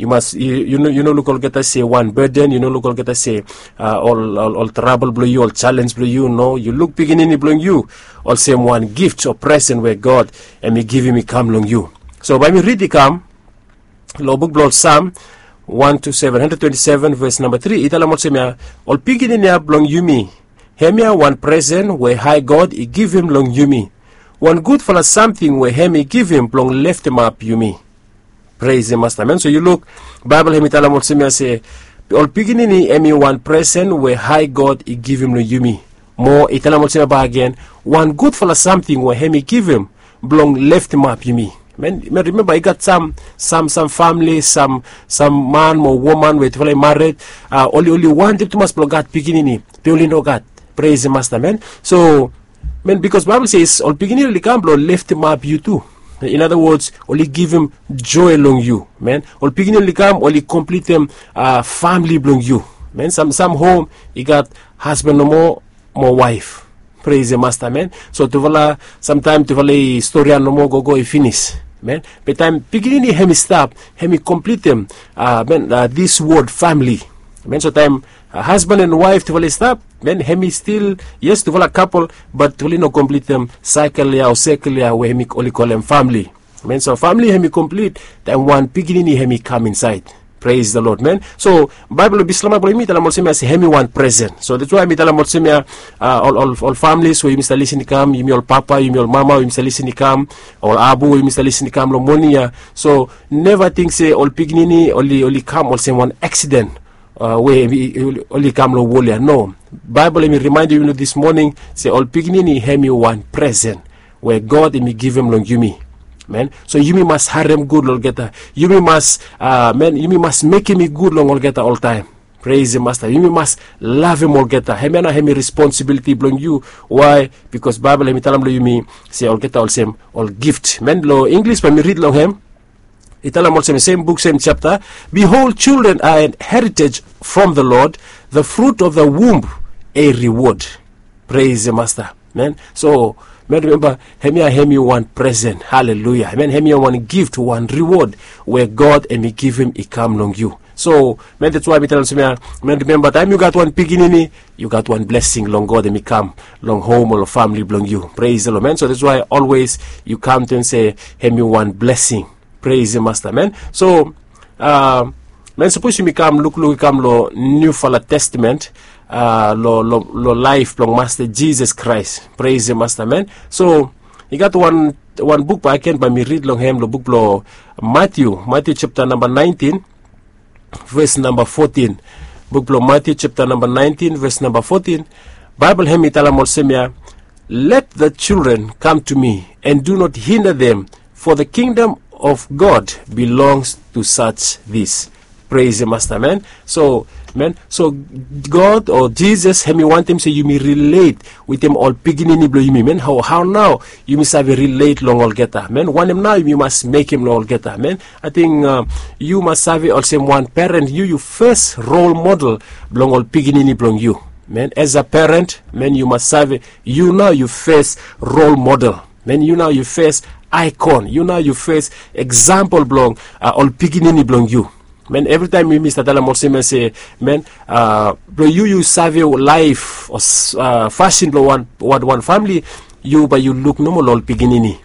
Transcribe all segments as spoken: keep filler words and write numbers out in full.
Yu mas yu no luk olgeta se wan beden, yu no luk olgeta se ol trabol blong yu, ol jalenj blong yu. No, yu luk pikinini blong yu olsem wan gift o presen we God em i givim i kam long yu. So bae mi rid i kam long buk blong ol Sam wan tu seven, handred twenti seven ves namba tri i talem olsem ya, ol pikinini ya blong yumi, hemia wan presen we hae God i givim long yumi, wan gudfala samting we hem i givim blong leftemap yumi. Pres em masta men. So yu luk, baebol hem i talem olsem ya se ol pikinini hem i wan presen we hae God i givim long yumi. Mo i talem olsem ya bagen, wan gudfala samting we hem i givim blong leftemap yumi. Men rimemba i gat sam sam sam famili, sam sam man mo woman we tufala i mared, oli oli wantem tumas blong gat pikinini, be oli no gat. Pres em masta men. So men, bikos baebol se ol pikinini oli kam blong leftemap yu tu. In other words, oli givim joe long yu. Men ol pikinini oli kam oli komplitem famili blong yu. Men sam sam hom i gat hasban nomo mo waef. Pres em masta men. So tufala samtaem tufala i storian nomo gogo i finis. Men be taem pikinini hem i stap, hem i komplitem men, dis wod famili. Men so taem hasban en waef tufala i stap, men hem i stil, yes, tufala kapol, bat tufala i no komplitem saekel ya o sekel ya we hem i oli kolem famili. Men so famili hem i komplit taem wan pikinini hem i kam insaed. Pres da lod men. So baebol o bislama blong yumi i talem olsem ya se hem i wan presen. So dats wae mi talem olsem ya, ol ol ol familis we yumi stap lisin i kam, yumi ol papa, yumi ol mama we yumi stap lisin i kam, ol abu we yumi stap lisin i kam long moning ya. So neva ting se ol pikinini oli oli kam olsem wan aksiden we oli kam long wol ya. No. Baebol hem i rimaendem yumi long dis moning se ol pikinini hem i wan presen we God hem i givim long yumi. Men so yumi mas harem gud long olgeta. Yumi mas men yumi mas mekem i gud long olgeta oltaem. Pres em masta. Yumi mas lavem olgeta. Hemia nao hem i responsibiliti blong yu. Wae? Bikos baebol hem i talem long yumi se olgeta olsem ol gift. Men long Inglis bae mi rid long hem. I talem olsem, sem buk sem japta, behold, children are an heritage from the Lord, the fruit of the womb a reward. Pres em masta. Men so men rimemba, hemia hem i wan presen. Haleluya. Men hemia wan gift, wan riwod we God hem i givim i kam long yu. So men dats wae mi talem olsem ya, men rimemba taem yu gat wan pikinini, yu gat wan blesing long God hem i kam long hom o long famili blong yu. Pres da lod men. So dats wae olwes yu kaontem se hem i wan blesing. Pres em masta men. So men sapos yumi kam lukluk i kam long niufala testamen, long laef blong masta Jisas Kraes. Pres em masta men. So i gat wan wan buk baken bae mi rid long hem long buk blong Matiu, Matiu japta namba naentin, ves namba fotin. Buk blong Matiu japta namba naentin ves namba fotin. Baebol hem i talem olsem ya, let the children kam tu mi, and do not hinder them, for the kingdom of God belongs to such this. Pres em masta men. So men, so God o Jisas hem i wantem se yumi rilet wetem ol pikinini blong yumi. Men hao hao nao yumi save rilet long olgeta? Men wanem nao yumi mas mekem long olgeta? Men ating yu mas save olsem wan peren, yu yu fes rol model blong ol pikinini blong yu. Men as a peren, men yu mas save yu nao yu fes rol model. Men yu nao yu fes aikon, yu nao yu fes eksampol blong ol pikinini blong yu. Men evritaem yumi stap talem olsem ya se, men blong yu yu save laef o fasin blong wan wan famili, yu bae yu luk nomo long ol pikinini.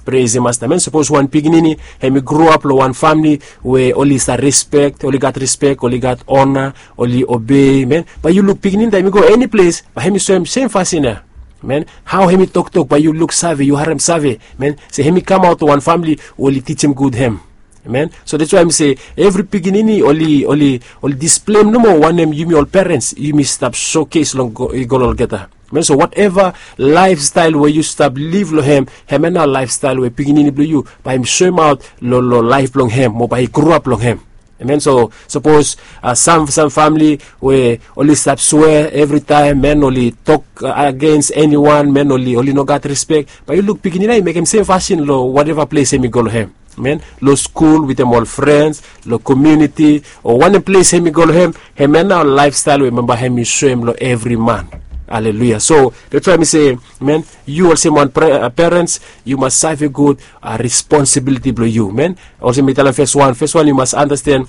Pres em masta men. Sapos wan pikinini hem i groap long wan famili we oli stap rispek, oli gat rispek, oli gat ona, oli obei, men bae yu luk pikinini taem hem i go eni ples bae hem i soem sem fasin ya. Men hao hem i toktok bae yu luksave, yu haremsave, men se hem i kamaot long wan famili we oli tijim gud hem. Men so dats wae mi se evri pikinini oli oli oli displem nomo wanem yumi ol perens yumi stap sokes long i go long olgeta. Men so wateva laefstael we yu stap liv long hem, hemia nao laefstael we pikinini blong yu bae hem soemaot long long laef blong hem mo bae i groap long hem. Men so sapos sam sam famili we oli stap swea evritaem, men oli tok agens eniwan, men oli oli no gat rispek, bae yu luk pikinini ya i mekem sem fasin long wateva ples hem i go long hem. Men long skul wetem ol frens, long komuniti o wanem ples hem i go long hem, hemia nao laefstael we bambae hem i soem long evri man. Aleluya. So dats wae mi se, men yu olsem wan perens yu mas save gud responsibiliti blong yu. Men olsem mi talem fes wan fes wan yu mas anasten